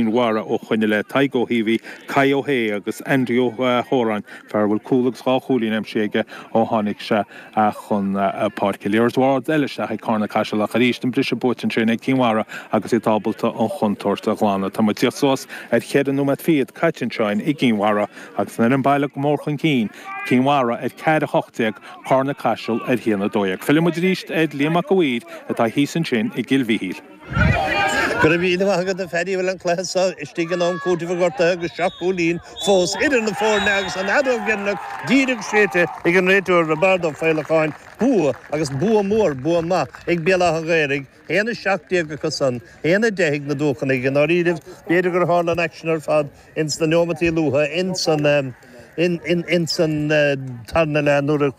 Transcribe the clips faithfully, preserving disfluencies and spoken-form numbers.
Mhara ó shoin i leith, Tadhg Ó hÍomhaí, Kai Ó hAodha agus Andy Ó hÓráin, fear a bhfuil cúl agus dhá chúilín aimsithe aige ó tháinig sé chun páirce. Liathróid ard eile isteach ag Carna Caiseal ach arís an briseadh buaite ansin ag Cinn Mhara agus iad ábalta an chontúirt a ghlanadh. Tá muid tíocht suas ar cheithre nóiméad fichead caite anseo i gCinn Mhara agus an fhoireann baile go mór chun cinn, Cinn Mhara ar ceathair a hocht déag, Carna Caiseal ar haon a dó dhéag. Filleann muid arís ar Liam Mac a' Mhaoir atá thíos ansin i gCill Mhichíl. Go raibh míle maith agat a Phaddy, bhuel an cluiche seo istigh in am cúitimh an ghortaithe agus seacht gcúilín fós idir na foirne agus an fheadóg dheireanach díreach séidte ag an réiteoir Roibeárd Ó Faolacháin. Bua agus bua mór, bua maith ag Béal Átha an Ghaorthaidh, haon a seacht déag acu san, haon a deich ag na Dúchanaigh. I ndáiríribh, b'fhéidir gur tharla an aicsean ar fad ins na neomataí luatha ins an ins an tarna leath nuair a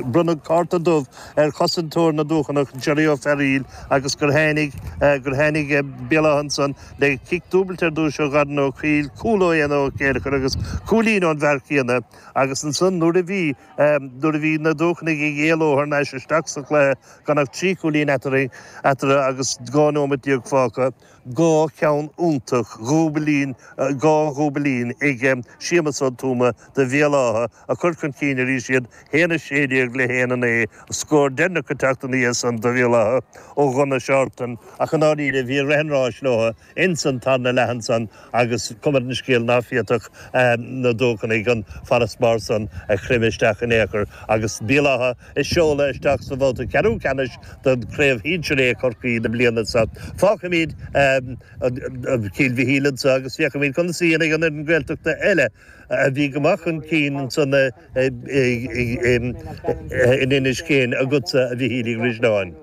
bronnadh cárta dubh ar chosantóir na nDúchanach, Jerry Ó Fearghaíl, agus gur tháinig gur tháinig Béal Átha ansan le cic dúbailte ar dtús ó Dharren Ó Cuill, cúl ó Éanna Ó Céileachair agus cúilín ón bhfear céanna agus ansan nuair a bhí nuair a bhí na Dúchanaigh ag éaló thar n-ais isteach sa chluiche gan ach trí chúilín eatarthu agus dhá nóimeat déag fágtha, dhá cheann iontach, dhúbailín, dhá dhúbailín ag Séamus Ó Tuama do Bhéal Átha a chuir chun cinn arís iad, haon a sé déag le haon a naoi, scór deireanach ag teacht ina dhiaidh san do Bhéal Átha ó Dhonna Shorten ach i ndáiríre bhí rith an ráis leo ins an tarna leath ansan agus cuma ar an scéal ná féadfadh na Dúchanaigh an farasbarr san a chreimeadh isteach in aon chor agus Béal Átha á seoladh isteach sa bhabhta ceathrú ceannais don Chraobh Shinsir A Chorcaí na bliana seo. Fágfaimid Cill Mhichíl anso agus féachfaimid conas a dhéanfaidh an fhoireann Gaeltachta eile a bhí go maith chun cinn ansan in Inis Céin agatsa a Mhichíl Uí Dhrisleáin.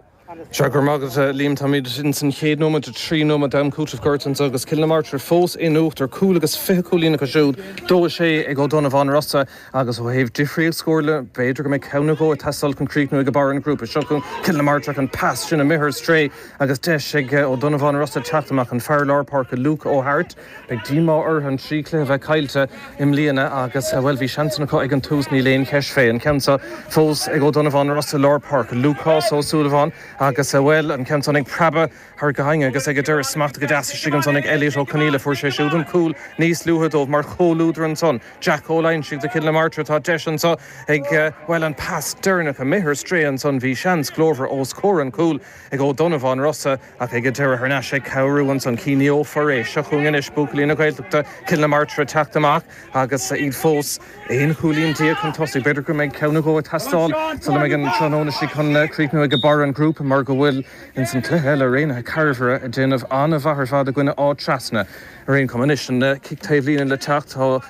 Sea, go raibh maith agat, Liam. Táimid ins an chéad nóiméad de trí nóiméad d'am cúitimh gortaithe anso agus Cill na Martra fós in uachtar, cúl agus fiche cúilín acu siúd, dó a sé ag Ó Donnabháin Rosa agus ó thaobh difríocht scóir de, b'fhéidir go mbeidh ceann nó dhó ag teastáil chun críochnú ag barr an ghrúpa. Seo chugainn Cill na Martra an pas sin imithe ar strae agus deis ag Ó Donnabháin Rosa teacht amach, an fear lár páirce Luke Ó Hairt. Beidh díomá orthu an trí chluiche a bheith caillte i mbliana agus, bhuel, bhí seansanna acu ag an tús, níl aon cheist fé. An ceann seo fós ag Ó Donnabháin Rosa lár páirce, Lúcás Ó Súilleabháin agus, bhuel, an ceann san ag preabadh thar gainne agus ag an deireadh smachtaithe go deas istigh ansan ag Elliot Ó Conaola. Fuair sé siúd an cúl níos luaithe dóibh mar chomhluadar ansan. Jack Ó Loingsigh do Chill na Martra. Tá deis anso ag, bhuel, an pas deireanach imithe ar strae ansan. Bhí seans glórmhar os comhair an chúil ag Ó Donnabháin Rosa ach ag an deireadh thar n-ais ag cabhrú ansan Ciní Ó Foirréis. Seo chugainn anois buachaillí na Gaeltachta, Cill na Martra ag teacht amach agus iad fós aon chúilín déag chun tosaigh. B'fhéidir go mbeidh ceann nó dhó ag teastáil sula mbeidh an tráthnóna seo chun críochnú ag barr an ghrúpa mar go bhfuil ins an cluiche eile Raonaithe Cairbre ag déanamh an-mhaith ar fad i gcoinne Áth Trasna. Ar aon chuma anois, an cic taobhlíne le teacht. Tá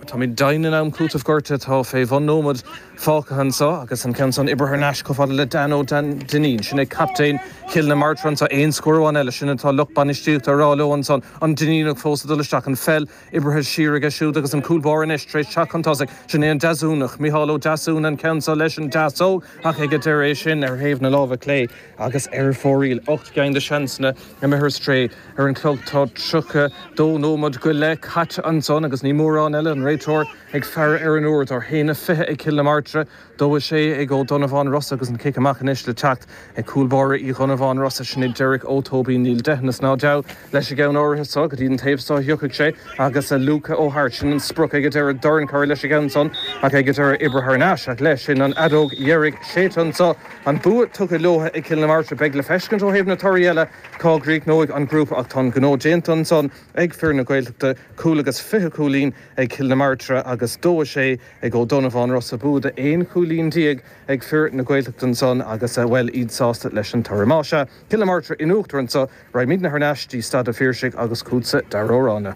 táimid deimhin in am cúitimh gortaithe. Tá fé bhun nóiméad fágtha anso agus an ceann san oibrithe thar n-ais chomh fada le Dan Ó Duinnín. Sin é captaen Chill na Martra anso. Aon scór amháin eile, sin atá lucht bainistíochta a rá leo ansan. An Duinníneach fós ag dul isteach. An pheil oibrithe siar aige siúd agus an cúl báire anois tar éis teacht chun tosaigh. Sin é an Deasúnach, Micheál Ó Deasúna an ceann so leis an deasóg ach ag an deireadh é sin ar thaobh na láimhe clé agus ar fóraoil. Ocht gceann de sheansanna imithe ar strae. Ar an chlog tá tríocha dó nóiméad go leith caite ansan agus ní mórán eile, an réiteoir ag faire ar an uair. Tá haon a fiche ag Cill na Martra, dó a sé ag Ó Donnabháin Rosa agus an cic amach anois le teacht ag cúl báire Uí Dhonnabháin Rosa, sin é Derek Ó Tóibín. Níl deitheanas ná deabhadh leis an gceann áirithe so go dtí an taobh so a thiocfaidh sé agus Luca Ó Hairt, sin an sprioc ag an deireadh, dorn curtha leis an gceann san ach ag an deireadh oibrithe thar n-ais ach leis sin an fheadóg dheiridh séidte anso. An bua tugtha leo ag Cill na Martra. Beidh le feiscint ó thaobh na torthaí eile cá gcríochnóidh an grúpa ach tá an gnó déanta ansan ag fir na Gaeltachta, cúl agus fiche cúilín ag Cill na Martra agus dó a sé ag Ó Donnabháin Rosa. Bua de aon chúilín déag ag fir na Gaeltachta ansan agus, bhuel, iad sásta leis an toradh. Más ea, Cill na Martra in uachtar anso, raghaimidne thar n-ais dtí Staid an Phiarsaigh agus chugatsa Darragh Ó Ráinne.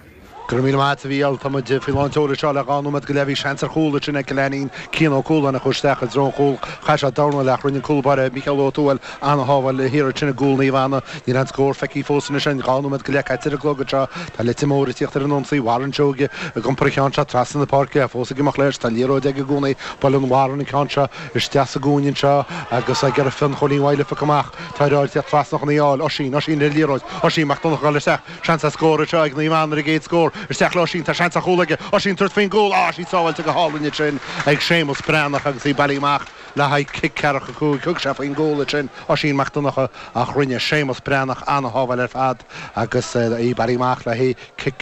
Go raibh míle maith agat a Mhícheáil. Tá muid faoi lán tseoil anseo le dhá nóiméad go leith. Bhí seans ar chúl ansin ag Cill Ainnín. Cian Ó Cualáin a chuaigh isteach i dtreo an chúil. Chaith sé dornal ach rinne an cúl báire Mícheál Ó Tuathail an-shábháil thiar ansin i gcúl Naomh Anna. Níl aon scór feicthe fós anois ann. Dhá nóiméad go leith caite ar an gclog anseo. Tá Leitir Móir ag tíocht ar an ionsaí. Warren Seoige ag iompar an cheann seo trasna na páirce. Fós ag imeacht leis. Tá liathróid aige i gcónaí. Buaileann Warren an ceann seo isteach sa gcúinne anseo agus ag iarraidh Fionn Chóilín Mhaidhc a phiocadh amach. Tá ar fháil tíocht trasna chun í a fháil. Oisín, Oisín le liathróid. Oisín Mac Donncha ag dul isteach. Seans ar scór anseo ag Naomh Anna ar an gcéad scór. Isteach le Oisín, tá seans ar chúl aige. Oisín tabhairt faoin gcúl. Á, sí sábháilte go hálainn ansin ag Séamus Breathnach agus í bailithe amach le haghaidh cic ceathracha cúig. Thug sé faoin gcúl ansin Oisín Mac Donncha ach rinne Séamus Breathnach an-shábháil ar fad agus í bailithe amach le haghaidh cic